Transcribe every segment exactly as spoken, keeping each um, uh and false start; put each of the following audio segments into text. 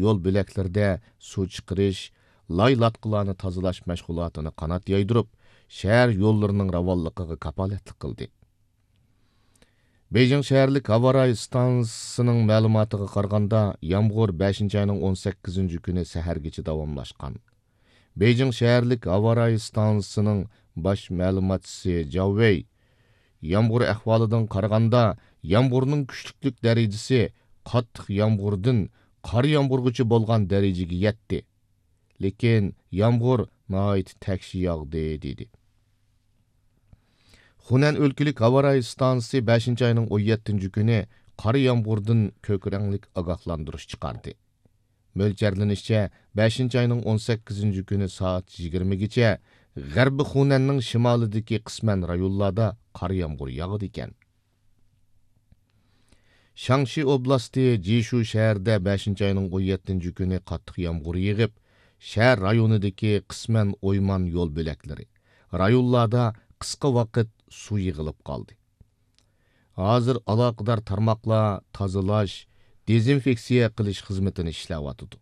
يول بۆلەكلىرىدە سۇ چىقىرىش، لاي لاتقىلارنى تازىلاش مەشغۇلاتىنى قانات يايدۇرۇپ، شەھەر يوللىرىنىڭ راۋانلىقىغا كاپالەتلىك قىلدى. بېيجىڭ شەھەرلىك ھاۋارايى ئىستانسىسىنىڭ مەلۇماتىغا قارىغاندا، يامغۇر بەشىنچى ئاينىڭ ئون سەككىزىنچى كۈنى سەھەرگىچە داۋاملاشقان. بېيجىڭ شەھەرلىك ھاۋارايى ئىستانسىسىنىڭ باش مەلۇماتچىسى جاۋ ۋېي، يامغۇر ئەھۋالىدىن قارىغاندا، يامغۇرنىڭ كۈچلۈكلۈك دەرىجىسى قاتتىق يامغۇردىن قار يامغۇرغىچە بولغان دەرىجىگە يەتتى. لېكىن يامغۇر ناھايىتى تەكشى ياغدى، دېدى. خۇنەن ئۆلكىلىك ھاۋارايى ئىستانسىسى بەشىنچى ئاينىڭ ئون يەتتىنچى كۈنى قار يامغۇردىن كۆك رەڭلىك ئاگاھلاندۇرۇش چىقاردى. مۆلچەرلىنىشىچە، بەشىنچى ئاينىڭ ئون سەككىزىنچى كۈنى سائەت يىگىرمىگىچە غەربىي خۇنەننىڭ شىمالىدىكى قىسمەن رايونلاردا قار يامغۇر ياغىدىكەن. شاڭشى ئوبلاستى جىشۇ شەھىرىدە بەشىنچى ئاينىڭ ئون يەتتىنچى كۈنى قاتتىق يامغۇر يېغىپ، شەھەر رايونىدىكى قىسمەن ئويمان يول بۆلەكلىرى، رايونلاردا قىسقا ۋاقىت سۇ يىغىلىپ قالدى. ھازىر ئالاقىدار تارماقلار تازىلاش، دېزىنفېكسىيە قىلىش خىزمىتىنى ئىشلەۋاتىدۇ.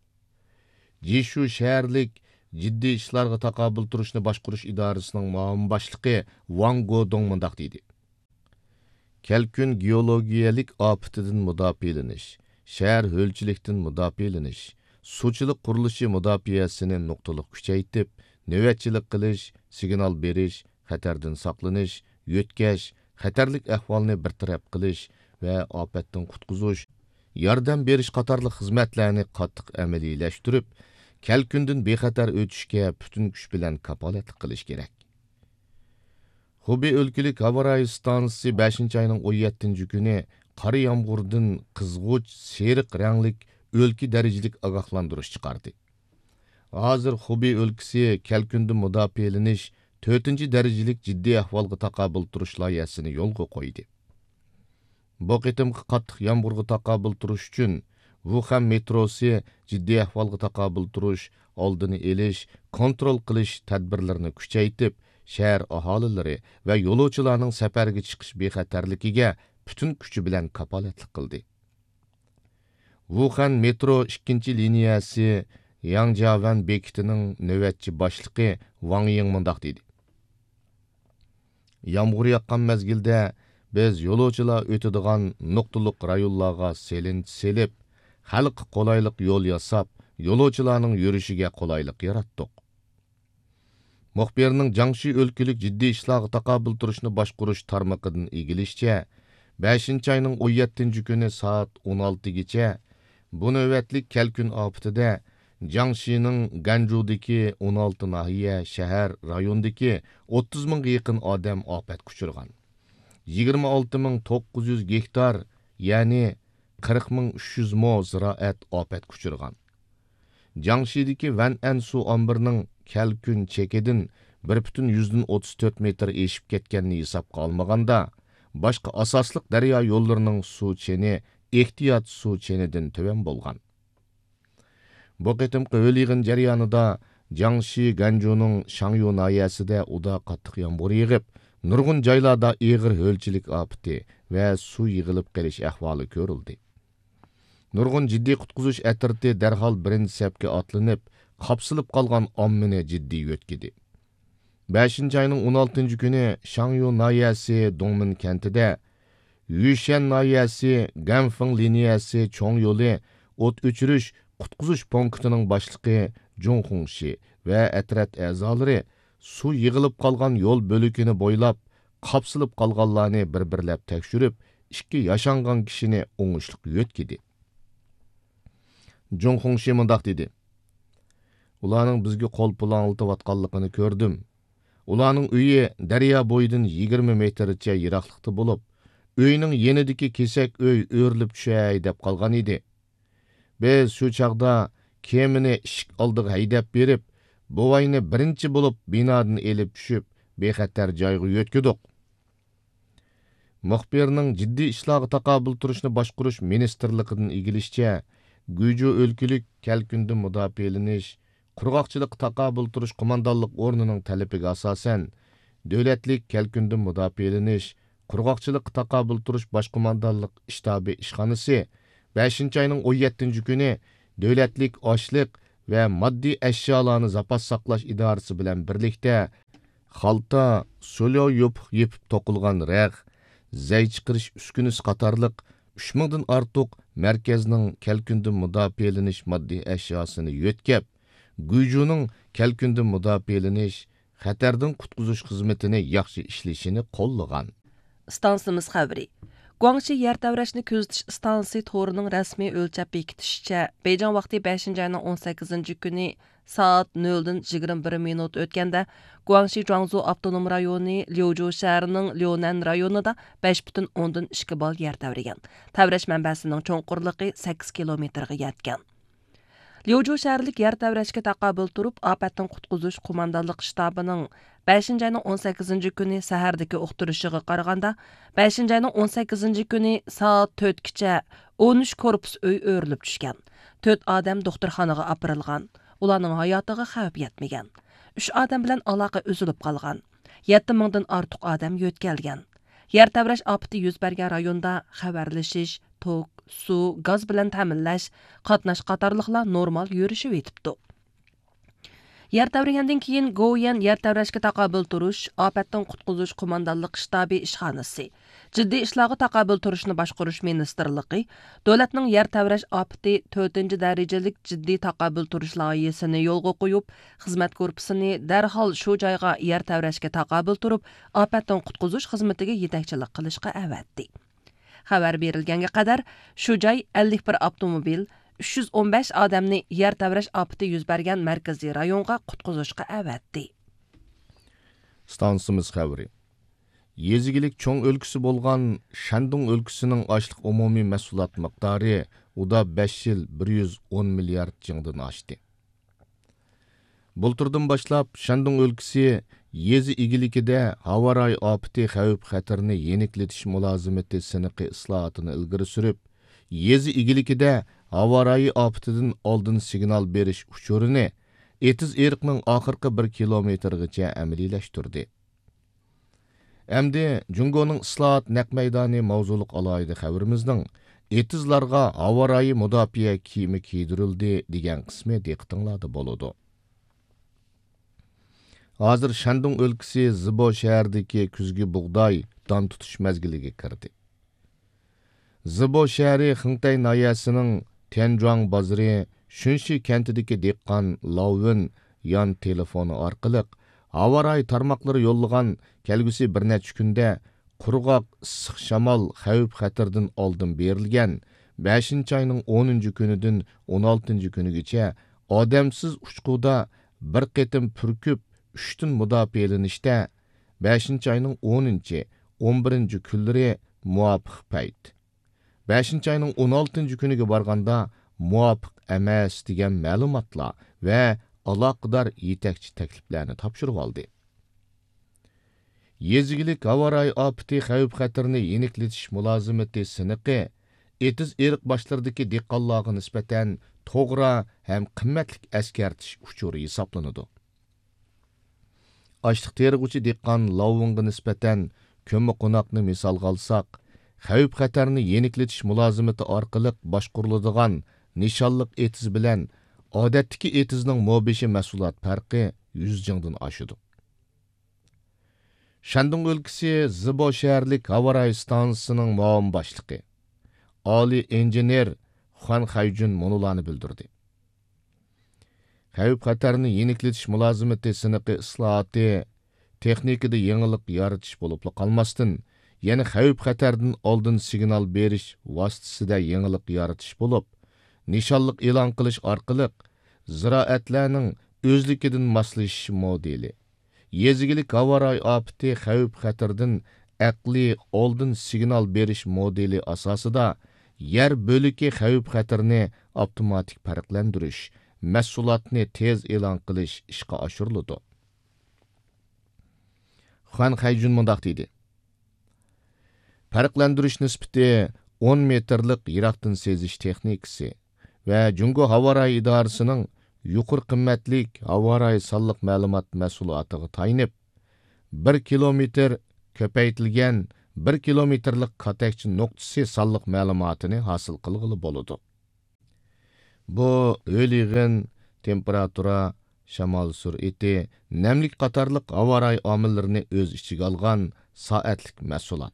جىشۇ شەھەرلىك جىددىي ئىشلارغا تاقابىل تۇرۇشنى باشقۇرۇش ئىدارىسىنىڭ مۇئاۋىن باشلىقى ۋاڭ گودۇڭ مۇنداق دېدى: كەلكۈن گېئولوگىيەلىك ئاپىتىدىن مۇداپىئەلىنىش، شەھەر ھۆلچىلىكتىن مۇداپىئەلىنىش، سۇچىلىق قۇرۇلۇشى مۇداپىئەسىنى نۇقتىلىق كۈچەيتىپ، نۆۋەتچىلىك قىلىش، سىگنال بېرىش، خەتەردىن ساقلىنىش، يۆتكەش، خەتەرلىك ئەھۋالنى بىر تەرەپ قىلىش ۋە ئاپەتتىن قۇتقۇزۇش، ياردەم بېرىش قاتارلىق خىزمەتلەرنى قاتتىق ئەمەلىيلەشتۈرۈپ، كەلكۈندىن بىخەتەر ئۆتۈشكە پۈتۈن كۈچ بىلەن كاپالەتلىك قىلىش كېرەك. خۇبېي ئۆلكىلىك ھاۋارايى ئىستانسىسى بەشىنچى ئاينىڭ ئون يەتتىنچى كۈنى قارا يامغۇردىن قىزغۇچ سېرىق رەڭلىك ئۆلكە دەرىجىلىك ئاگاھلاندۇرۇش چىقاردى. ھازىر خۇبېي ئۆلكىسى كەلكۈندىن مۇداپىئەلىنىش تۆتىنچى دەرىجىلىك جىددىي ئەھۋالغا تاقابىل تۇرۇش لايىھەسىنى يولغا قويدى. بۇ قېتىمقى قاتتىق يامغۇرغا تاقابىل تۇرۇش ئۈچۈن، ۋۇخەن مېتروسى جىددىي ئەھۋالغا تاقابىل تۇرۇش، ئالدىنى ئېلىش، كونترول قىلىش تەدبىرلىرىنى كۈچەيتىپ، شەھەر ئاھالىلىرى ۋە يولۇچىلارنىڭ سەپەرگە چىقىش بىخەتەرلىكىگە پۈتۈن كۈچى بىلەن كاپالەتلىك قىلدى. ۋۇخەن مېترو ئىككىنچى لىنىيەسى ياڭجياۋەن بېكىتىنىڭ نۆۋەتچى باشلىقى ۋاڭ يىڭ مۇنداق دېدى: يامغۇر ياغقان مەزگىلدە بىز يولۇچىلار ئۆتىدىغان نۇقتىلىق رايونلارغا سېلىنچا سېلىپ، خەلققە قولايلىق يول ياساپ، يولۇچىلارنىڭ يۈرۈشىگە قولايلىق ياراتتۇق. مۇخبىرنىڭ جياڭشى ئۆلكىلىك جىددىي ئىشلارغا تاقابىل تۇرۇشنى باشقۇرۇش تارمىقىدىن ئىگىلىشىچە، بەشىنچى ئاينىڭ ئون يەتتىنچى كۈنى سائەت ئون ئالتىگىچە بۇ نۆۋەتلىك كەلكۈن ئاپىتىدە جياڭشىنىڭ گەنجۇدىكى ئون ئالتە ناھىيە، شەھەر، رايوندىكى ئوتتۇز مىڭغا يېقىن ئادەم ئاپەتكە ئۇچرىغان. يىگىرمە ئالتە مىڭ توققۇز يۈز گېكتار، يەنى قىرىق مىڭ ئۈچ يۈز مو زىرائەت ئاپەتكە ئۇچرىغان. جياڭشىدىكى ۋەنئەن سۇ ئامبىرىنىڭ كەلكۈن چېكىدىن بىر پۈتۈن يۈزدىن ئوتتۇز تۆت مېتىر ئېشىپ كەتكەننى ھېسابقا ئالمىغاندا، باشقا ئاساسلىق دەريا يوللىرىنىڭ سۇ چېنى ئېھتىيات سۇ چېنىدىن تۆۋەن بولغان. بۇ قېتىمقى ھۆل يىغىن جەريانىدا جياڭشى گەنجۇنىڭ شاڭيۇ ناھىيەسىدە ئۇدا قاتتىق يامغۇر يېغىپ، نۇرغۇن جايلاردا ئېغىر ھۆلچىلىك ئاپىتى ۋە سۇ يىغىلىپ قېلىش ئەھۋالى كۆرۈلدى. نۇرغۇن جىددىي قۇتقۇزۇش ئەترىتى دەرھال بىرىنچى سەپكە ئاتلىنىپ، قاپسىلىپ قالغان ئاممىنى جىددىي يۆتكىدى. بەشىنچى ئاينىڭ ئون ئالتىنچى كۈنى شاڭيۇ ناھىيەسى دۇڭمىن كەنتىدە، يۈشەن ناھىيەسى گەنفېڭ لىنىيەسى چوڭ يولى ئوت ئۆچۈرۈش، قۇتقۇزۇش پونكىتىنىڭ باشلىقى جۇڭ خۇڭشى ۋە ئەترەت ئەزالىرى سۇ يىغىلىپ قالغان يول بۆلىكىنى بويلاپ، قاپسىلىپ قالغانلارنى بىر-بىرلەپ تەكشۈرۈپ، ئىككى ياشانغان كىشىنى ئوڭۇشلۇق يۆتكىدى. جۇڭ خۇڭشى مۇنداق دېدى: ئۇلارنىڭ بىزگە قول پۇلاڭلىتىۋاتقانلىقىنى كۆردۈم. ئۇلارنىڭ ئۆيى دەريا بويىدىن يىگىرمە مېتىرچە يىراقلىقتا بولۇپ، ئۆينىڭ يېنىدىكى كېسەك ئۆي ئۆرۈلۈپ چۈشەي دەپ قالغان ئىدى. بىز شۇ چاغدا كېمىنى ئىشىك ئالدىغا ھەيدەپ بېرىپ، بوۋاينى بىرىنچى بولۇپ بىنادىن ئېلىپ چۈشۈپ، بىخەتەر جايغا يۆتكىدۇق. مۇخبىرنىڭ جىددىي ئىشلارغا تاقابىل تۇرۇشنى باشقۇرۇش مىنىستىرلىقىدىن ئىگىلىشىچە، گۇيجۇ ئۆلكىلىك كەلكۈندىن مۇداپىئەلىنىش، قۇرغاقچىلىققا تاقابىل تۇرۇش قوماندانلىق ئورنىنىڭ تەلىپىگە ئاساسەن، دۆلەتلىك كەلكۈندىن مۇداپىئەلىنىش، قۇرغاقچىلىققا تاقابىل تۇرۇش باش قوماندانلىق شتابى ئىشخانىسى بەشىنچى ئاينىڭ ئون يەتتىنچى كۈنى دۆلەتلىك ئاشلىق ۋە ماددىي ئەشيالارنى زاپاس ساقلاش ئىدارىسى بىلەن بىرلىكتە خالتا، سوليو يوپۇق يېپىپ توقۇلغان رەغ، زەي چىقىرىش ئۈسكۈنىسى قاتارلىق ئۈچ مىڭدىن ئارتۇق مەركەزنىڭ كەلكۈندىن مۇداپىئەلىنىش ماددىي ئەشياسىنى يۆتكەپ، گۇيجۇنىڭ كەلكۈندىن مۇداپىئەلىنىش، خەتەردىن قۇتقۇزۇش خىزمىتىنى ياخشى ئىشلىشىنى قوللىغان. ئىستانسىمىز خەۋىرى. گۇاڭشى يەر تەۋرەشنى كۆزىتىش ئىستانسىسى تورىنىڭ رەسمىي ئۆلچەپ بېكىتىشىچە، بېيجىڭ ۋاقتى بەشىنچى ئاينىڭ ئون سەككىزىنچى كۈنى سائەت نۆلدىن يىگىرمە بىر مىنۇت ئۆتكەندە، گۇاڭشى جۇاڭزۇ ئاپتونوم رايونى ليۇجۇ شەھىرىنىڭ ليۇنەن رايونىدا بەش پۈتۈن ئوندىن ئىككى بال يەر تەۋرىگەن. تەۋرەش مەنبەسىنىڭ چوڭقۇرلۇقى سەككىز كىلومېتىرغا يەتكەن. ليۇجۇ شەھەرلىك يەر تەۋرەشكە تاقابىل تۇرۇپ، ئاپەتتىن قۇتقۇزۇش قوماندانلىق شتابىنىڭ بەشىنچى ئاينىڭ ئون سەككىزىنچى كۈنى سەھەردىكى ئۇقتۇرۇشىغا قارىغاندا، بەشىنچى ئاينىڭ ئون سەككىزىنچى كۈنى سائەت تۆتكىچە ئون ئۈچ كورپۇس ئۆي ئۆرۈلۈپ چۈشكەن، تۆت ئادەم دوختۇرخانىغا ئاپىرىلغان، ئۇلارنىڭ ھاياتىغا خەۋپ يەتمىگەن، ئۈچ ئادەم بىلەن ئالاقە ئۈزۈلۈپ قالغان، يەتتە مىڭدىن ئارتۇق ئادەم يۆتكەلگەن. يەر تەۋرەش ئاپىتى يۈز بەرگەن رايوندا خەۋەرلىشىش، توك، سۇ، گاز بىلەن تەمىنلەش، قاتناش قاتارلىقلار نورمال يۈرۈشۈۋېتىپتۇ. يەر تەۋرىگەندىن كېيىن گوۋۇيۈەن يەر تەۋرەشكە تاقابىل تۇرۇش، ئاپەتتىن قۇتقۇزۇش قوماندانلىق شتابى ئىشخانىسى، جىددىي ئىشلارغا تاقابىل تۇرۇشنى باشقۇرۇش مىنىستىرلىقى، دۆلەتنىڭ يەر تەۋرەش ئاپىتى تۆتىنچى دەرىجىلىك جىددىي تاقابىل تۇرۇش لايىھىسىنى يولغا قويۇپ، خىزمەت گۇرۇپپىسىنى دەرھال شۇ جايغا يەر تەۋرەشكە تاقابىل تۇرۇپ، ئاپەتتىن قۇتقۇزۇش خىزمىتىگە يېتەكچىلىك قىلىشقا ئەۋەتتى. خەۋەر بېرىلگەنگە قەدەر، شۇ جاي ئەللىك بىر ئاپتوموبىل، ئۈچ يۈز ئون بەش ئادەمنى يەر تەۋرەش ئاپىتى يۈز بەرگەن مەركىزىي رايونغا قۇتقۇزۇشقا ئەۋەتتى. ئىستانسىمىز خەۋىرى. يېزا ئىگىلىك چوڭ ئۆلكىسى بولغان شەندۇڭ ئۆلكىسىنىڭ ئاشلىق ئومۇمىي مەھسۇلات مىقدارى ئۇدا بەش يىل بىر يۈز ئون مىليارد جىڭدىن ئاشتى. بۇلتۇردىن باشلاپ، شەندۇڭ ئۆلكىسى يېزا ئىگىلىكىدە ھاۋا رايى ئاپىتى خەۋپ خەتىرىنى يېنىكلىتىش مۇلازىمىتى سىنىقى ئىسلاھاتىنى ئىلگىرى سۈرۈپ، يېزا ئىگىلىكىدە ھاۋا رايى ئاپىتىدىن ئالدىن سىگنال بېرىش ئۇچۇرىنى ئېتىز ئېرىقنىڭ ئاخىرقى بىر كىلومېتىرىغىچە ئەمەلىيلەشتۈردى. ئەمدى جۇڭگونىڭ ئىسلاھات نەق مەيدانى ماۋزۇلۇق ئالاھىدە خەۋىرىمىزنىڭ ئېتىزلارغا ھاۋا رايى مۇداپىئە كىيىمى كىيدۈرۈلدى دېگەن قىسمى دىققىتىڭلاردا بولىدۇ. ھازىر شەندۇڭ ئۆلكىسى زىبو شەھىرىدىكى كۈزگى بۇغداي دان تۇتۇش مەزگىلىگە كىردى. زىبو شەھىرى خېڭتەي ناھىيەسىنىڭ تيەنجۇاڭ بازىرى شۈنشى كەنتىدىكى دېھقان لاۋۋېن يان تېلېفونى ئارقىلىق ھاۋا رايى تارماقلىرى يوللىغان كەلگۈسى بىر نەچچە كۈندە قۇرغاق، ئىسسىق شامال خەۋپ خەتىرىدىن ئالدىن بېرىلگەن بەشىنچى ئاينىڭ ئونىنچى كۈنىدىن ئون ئالتىنچى كۈنىگىچە ئادەمسىز ئۇچقۇدا بىر قېتىم پۈركۈپ ئۈچتىن مۇداپىئەلىنىشتە بەشىنچى ئاينىڭ ئونىنچى، ئون بىرىنچى كۈنلىرى مۇۋاپىق پەيت. بەشىنچى ئاينىڭ ئون ئالتىنچى كۈنىگە بارغاندا مۇۋاپىق ئەمەس دېگەن مەلۇماتلار ۋە ئالاقىدار يېتەكچى تەكلىپلەرنى تاپشۇرۇۋالدى. يېزا ئىگىلىك ھاۋا رايى ئاپىتى خەۋپ خەتىرىنى يېنىكلىتىش مۇلازىمىتى سىنىقى ئېتىز ئېرىق باشلىرىدىكى دېھقانلارغا نىسبەتەن توغرا ھەم قىممەتلىك ئەسكەرتىش ئۇچۇرى ھېسابلىنىدۇ. ئاشلىق تېرىغۇچى دېھقان لاۋۇڭغا نىسبەتەن كۆممىقوناقنى مىسالغا ئالساق، خەۋپ خەتەرنى يېنىكلىتىش مۇلازىمىتى ئارقىلىق باشقۇرۇلىدىغان نىشانلىق ئېتىز بىلەن ئادەتتىكى ئېتىزنىڭ مو بېشى مەھسۇلات پەرقى يۈز جىڭدىن ئاشىدۇ. شەندۇڭ ئۆلكىسى زىبو شەھەرلىك ھاۋا رايى ئىستانسىسىنىڭ مۇئاۋىن باشلىقى، ئالىي ئىنژېنېر خۇەن خەيجۈن مۇنۇلارنى بىلدۈردى. خەۋپ خەتەرنى يېنىكلىتىش مۇلازىمىتى سىنىقى ئىسلاھاتى تېخنىكىدا يېڭىلىق يارىتىش بولۇپلا قالماستىن، يەنە خەۋپ خەتەردىن ئالدىن سىگنال بېرىش ۋاسىتىسىدە يېڭىلىق يارىتىش بولۇپ، نىشانلىق ئېلان قىلىش ئارقىلىق زىرائەتلەرنىڭ ئۆزلۈكىدىن ماسلىشىش مودېلى، يېزا ئىگىلىك ھاۋا رايى ئاپىتى خەۋپ خەتىرىدىن ئەقلىي ئالدىن سىگنال بېرىش مودېلى ئاساسىدا يەر بۆلىكى خەۋپ خەتىرىنى ئاپتوماتىك پەرقلەندۈرۈش، مەھسۇلاتنى تېز ئېلان قىلىش ئىشقا ئاشۇرۇلىدۇ. خۇەن خەيجۈن مۇنداق دېدى: پەرقلەندۈرۈش نىسبىتى ئون مېتىرلىق يىراقتىن سېزىش تېخنىكىسى ۋە جۇڭگو ھاۋا رايى ئىدارىسىنىڭ يۇقىرى قىممەتلىك ھاۋا رايى سانلىق مەلۇمات مەھسۇلاتىغا تايىنىپ، بىر كىلومېتىر كۆپەيتىلگەن بىر كىلومېتىرلىق كاتەكچە نۇقتىسى سانلىق مەلۇماتىنى ھاسىل قىلغىلى بولىدۇ. بۇ ھۆل يېغىن، تېمپېراتۇرا، شامال سۈرئىتى، نەملىك قاتارلىق ھاۋا رايى ئامىللىرىنى ئۆز ئىچىگە ئالغان سائەتلىك مەھسۇلات.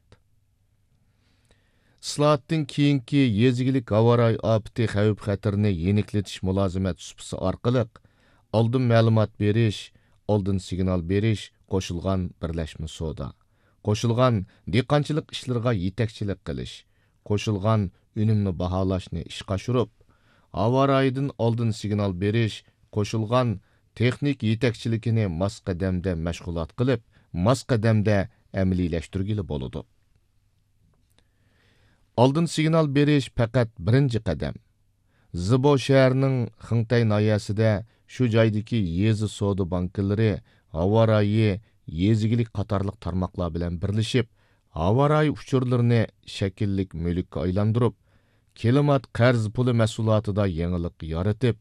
ئىسلاھاتتىن كېيىنكى يېزا ئىگىلىك ھاۋا رايى ئاپىتى خەۋپ خەتىرىنى يېنىكلىتىش مۇلازىمەت سۇپىسى ئارقىلىق ئالدىن مەلۇمات بېرىش، ئالدىن سىگنال بېرىش قوشۇلغان بىرلەشمە سودا، قوشۇلغان دېھقانچىلىق ئىشلىرىغا يېتەكچىلىك قىلىش، قوشۇلغان ئۈنۈمنى باھالاشنى ئىشقا ئاشۇرۇپ، ھاۋا رايىدىن ئالدىن سىگنال بېرىش، قوشۇلغان تېخنىكا يېتەكچىلىكىنى ماس قەدەمدە مەشغۇلات قىلىپ، ماس قەدەمدە ئەمەلىيلەشتۈرگىلى بولىدۇ. ئالدىن سىگنال بېرىش پەقەت بىرىنچى قەدەم. زىبو شەھىرىنىڭ خېڭتەي ناھىيەسىدە شۇ جايدىكى يېزا سودا بانكىلىرى ھاۋا رايى، يېزا ئىگىلىك قاتارلىق تارماقلار بىلەن بىرلىشىپ، ھاۋا رايى ئۇچۇرلىرىنى شەكىللىك مۈلۈككە ئايلاندۇرۇپ، كىلىمات قەرز پۇلى مەھسۇلاتىدا يېڭىلىق يارىتىپ،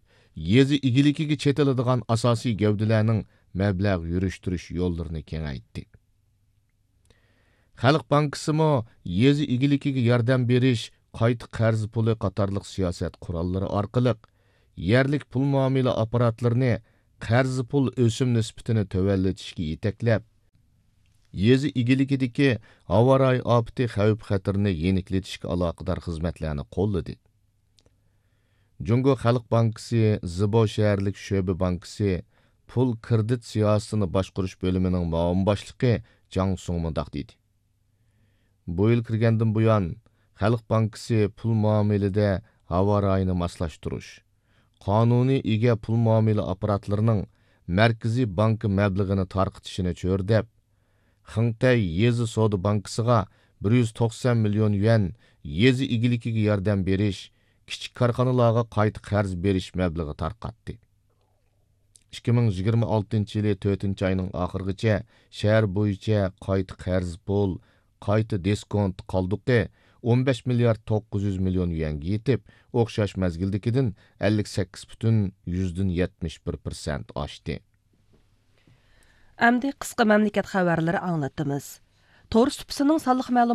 يېزا ئىگىلىكىگە چېتىلىدىغان ئاساسىي گەۋدىلەرنىڭ مەبلەغ يۈرۈشتۈرۈش يوللىرىنى كېڭەيتتى. خەلق بانكىسىمۇ يېزا ئىگىلىكىگە ياردەم بېرىش، قايتا قەرز پۇلى قاتارلىق سىياسەت قوراللىرى ئارقىلىق يەرلىك پۇل مۇئامىلە ئاپپاراتلىرىنى قەرز پۇل ئۆسۈم نىسبىتىنى تۆۋەنلىتىشكە يېتەكلەپ، يېزا ئىگىلىكىدىكى ھاۋا رايى ئاپىتى خەۋپ خەتىرىنى يېنىكلىتىشكە ئالاقىدار خىزمەتلەرنى قوللىدى. جۇڭگو خەلق بانكىسى زىبو شەھەرلىك شۆبە بانكىسى پۇل كىرېدىت سىياسىتىنى باشقۇرۇش بۆلۈمىنىڭ مۇئاۋىن باشلىقى جاڭ سۇڭ مۇنداق دېدى: بۇ يىل كىرگەندىن بۇيان، خەلق بانكىسى پۇل مۇئامىلىدە ھاۋا رايىنى ماسلاشتۇرۇش، قانۇنىي ئىگە پۇل مۇئامىلە ئاپپاراتلىرىنىڭ مەركىزىي بانكا مەبلىغىنى تارقىتىشىنى چۆرىدەپ، خېڭتەي يېزا سودا بانكىسىغا بىر يۈز توقسان مىليون يۈەن يېزا ئىگىلىكىگە ياردەم بېرىش، كىچىك كارخانىلارغا قايتا قەرز بېرىش مەبلىغى تارقاتتى. ئىككى مىڭ يىگىرمە ئالتىنچى يىلى تۆتىنچى ئاينىڭ ئاخىرىغىچە شەھەر بويىچە قايتا قەرز پۇل، قايتا دىسكونت قالدۇقى ئون بەش مىليارد توققۇز يۈز مىليون يۈەنگە يېتىپ، ئوخشاش مەزگىلدىكىدىن ئەللىك سەككىز پۈتۈن يۈزدىن يەتمىش بىر پىرسەنت ئاشتى. ئەمدى قىسقا مەملىكەت خەۋەرلىرى ئاڭلىتىمىز. تور سۇپىسىنىڭ سانلىق مەلۇماتى